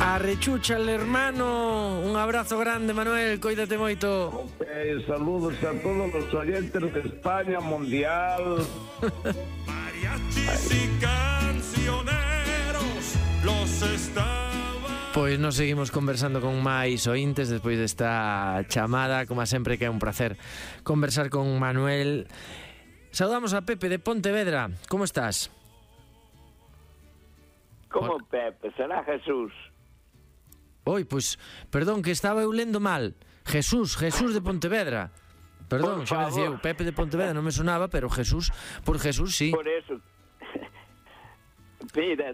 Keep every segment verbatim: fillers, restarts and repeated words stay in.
Arrechucha el hermano. Un abrazo grande, Manuel, cuídate moito. Ok, saludos a todos los oyentes de España Mundial. Mariachis y cancioneros los estaban. Pois nos seguimos conversando con máis ointes despois desta chamada. Como sempre que é un placer conversar con Manuel. Saudamos a Pepe de Pontevedra. Como estás? Como Pepe? Será Jesús. Oi, pois, perdón, que estaba eu lendo mal. Jesús, Jesús de Pontevedra. Perdón, xa me decía eu, Pepe de Pontevedra non me sonaba, pero Jesús, por Jesús, sí. Por eso. Mira,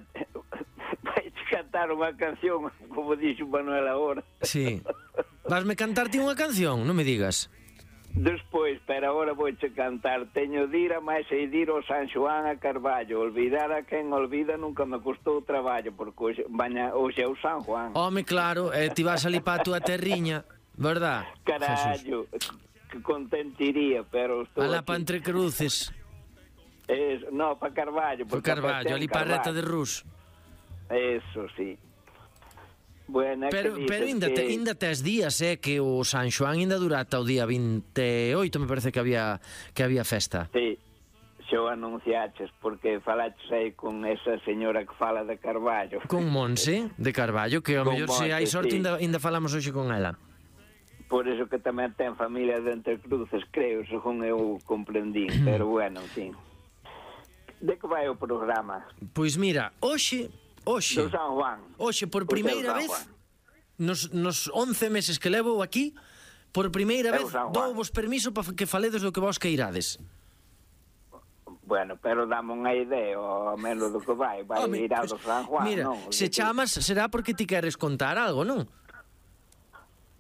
vais cantar unha canción, como dixo Manuel agora. Sí. Vasme cantar ti unha canción, non me digas. Despois, pero agora vouche cantar. Teño dira máis e dir o San Xoán a Carballo. Olvidar a quen olvida nunca me custou traballo, porque hoxe, baña, hoxe é o San Juan. Home, claro, eh, ti vas ali pa a túa terriña, verdad? Carallo, que contentiría, pero estou alá aquí. pa entre cruces. Es, no, pa Carballo. Pa Carballo, ali pa reta de Rus. Eso, sí. Bueno, pero pero ainda, que... te, ainda tes días, eh, que o San Xoán ainda dura ata o día vinte e oito, me parece que había que había festa. Sí, xa o anunciaches, porque falaches aí con esa señora que fala de Carballo. Con Monse de Carballo, que ao mellor se hai sorte, sí. ainda, ainda falamos hoxe con ela. Por eso que tamén ten familia de Entre Cruces, creo, según eu comprendín, pero bueno, en fin. De que vai o programa? Pois mira, hoxe Oxe, do San Juan. Oxe, por primeira vez nos, nos once meses que levo aquí, por primeira vez dou-vos permiso para que faledes do que vos queirades. Bueno, pero dame unha idea, ao menos do que vai. Vai ir ao do San Juan, mira, non? Se chamas, será porque ti queres contar algo, non?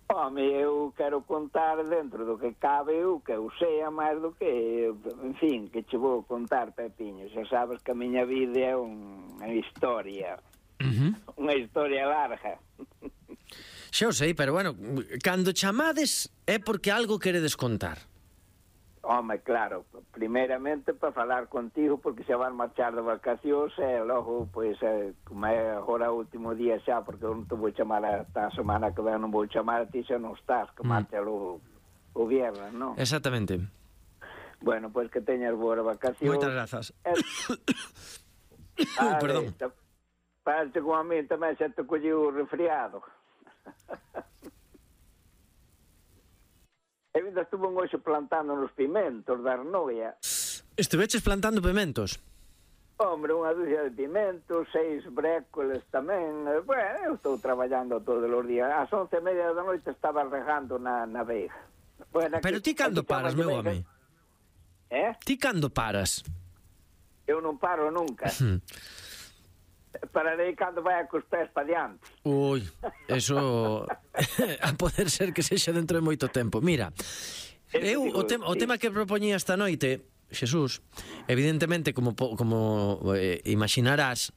Home, eu quero contar dentro do que cabe eu, que eu sea máis do que, en fin, que che vou contar, Pepiño. Xa sabes que a miña vida é unha historia, uh-huh. unha historia larga. Xa o sei, pero bueno, cando chamades é porque algo queredes contar. Home, claro, primeiramente para falar contigo, porque xa van marchar de vacacións e logo, pois, eh, como é agora o último día xa, porque eu non te vou chamar esta semana que ven, non vou chamar a ti xa non estás, que mm. marcha o, o viernes, non? Exactamente. Bueno, pois que teñas boas vacacións. Moitas grazas. Eh... ah, perdón. Parece como a mí tamén xa te colleu o resfriado. Eu ainda estuve un hoxe plantando nos pimentos da Arnoia. Estiveches plantando pimentos? Hombre, unha dúcia de pimentos, seis brécoles tamén. Bueno, eu estou traballando todos os días. Ás once e media da noite estaba regando na, na veiga. Bueno, pero ti cando paras, meu home? Eh? Ti cando paras? Eu non paro nunca. Pararei cando vai cos pés pa diante. Ui, eso a poder ser que sexa dentro de moito tempo. Mira, eu o, tem, o tema que propoñía esta noite, Xesús, evidentemente, como, como eh, imaginarás,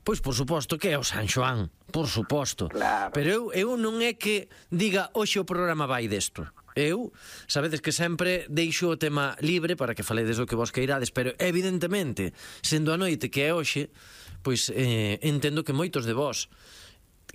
pois por suposto que é o San Xoán, por suposto. Claro. Pero eu, eu non é que diga hoxe o programa vai desto. Eu, sabedes que sempre deixo o tema libre para que faledes o que vos queirades, pero evidentemente, sendo a noite que é hoxe, pois eh, entendo que moitos de vós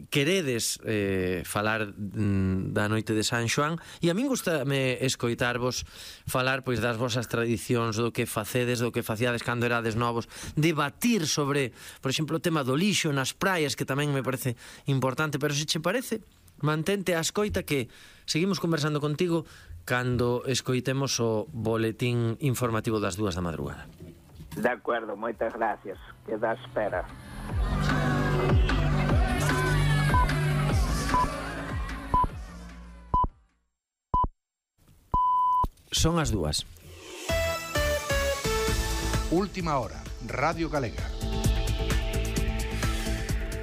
queredes eh, falar mm, da noite de San Xoán, e a min gustame escoitarvos falar pois das vosas tradicións, do que facedes, do que faciades cando erades novos, debatir sobre, por exemplo, o tema do lixo nas praias, que tamén me parece importante. Pero se che parece, mantente a escoita, que seguimos conversando contigo cando escoitemos o boletín informativo das dúas da madrugada. De acuerdo, moitas gracias. Queda a espera. Son as dúas. Última hora, Radio Galega.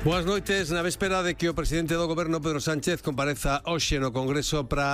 Boas noites. Na véspera de que o presidente do goberno, Pedro Sánchez, compareza hoxe no Congreso para